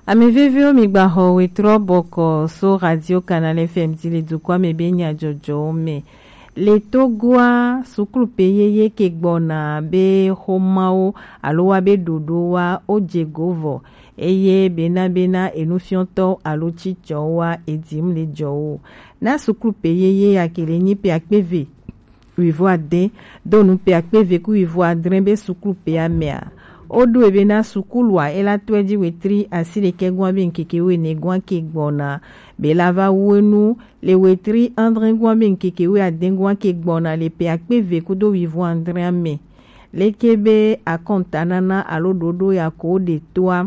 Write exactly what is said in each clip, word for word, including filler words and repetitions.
Ame veviwo, mi gba xɔ wetrɔ bɔkɔ so Radio Canal F M dzi le dukɔa me be nyadzɔdzɔwo me. Le Togoa, suklu pe yeye ke gbɔna be xomawo alo wa be ɖoɖo wa o dze go vɔ, eye bena bena enufiɔtɔ alo cicɔ wa edim le jɔ wo. Na suklu pe yeye ya ke le nyi pe akpe ve wivo ade, do nu pe akpe ve ku wivo adre be suklu pe amea. O ɖo ebe na sukulu a ela tɔe ji wetri asi ɖekɛ gua be nkeke wene gua ke gbɔna, be la va wu enu le wetri andre gua be nkeke we ade gua ke gbɔna le pe akpe ve kudo wivo andre ame. Leke be akɔntanana alo ɖoɖo ya ko ɖe toa?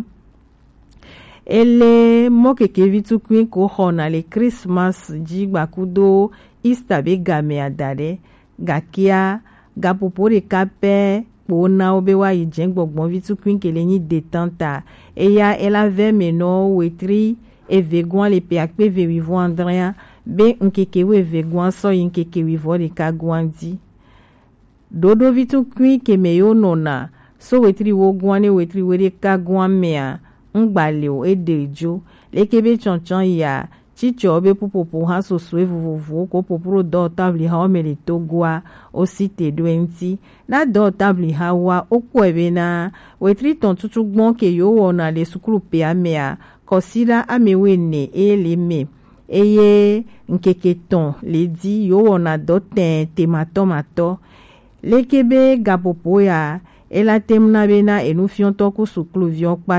Ele mɔ keke vi tukui ko xɔna le Christmas ji gbakudo Easter be game ada ɖe. Gakea, gapopo ɖeka pɛ kpo na wo be wa yi jɛ gbɔgbɔ vi tukui ke le nyi detan ta. Eya ela vɛ me nɔ wetri eve gua le pe akpe ve wivo andrea be nkeke we eve gua sɔ yi nkeke wivo ɖeka gua di. Ɖoɖo vi tukui ke me yo nɔna so wetri wo gua ne wetri we ɖeka gua mea, ŋgba le o, e ɖe jo. Leke be tsɔtsɔ ya, cicɔ be pupopo ha sosoe vovovowo ko popro dɔ tabli ha wo me le Togoa, o si te ɖo eŋti. Na dɔ tabli ha wa, o kpɔe be na wetri tɔn tutu gbɔn ke yo wɔna le sukulu pe amea, kɔsiɖa ame wene e le me, eye nkeke tɔn le di yo wɔna dɔ tɛn tematɔmatɔ. Leke be gapopo ya, ela tem na be na enufiɔtɔ ku sukuluviwo kpata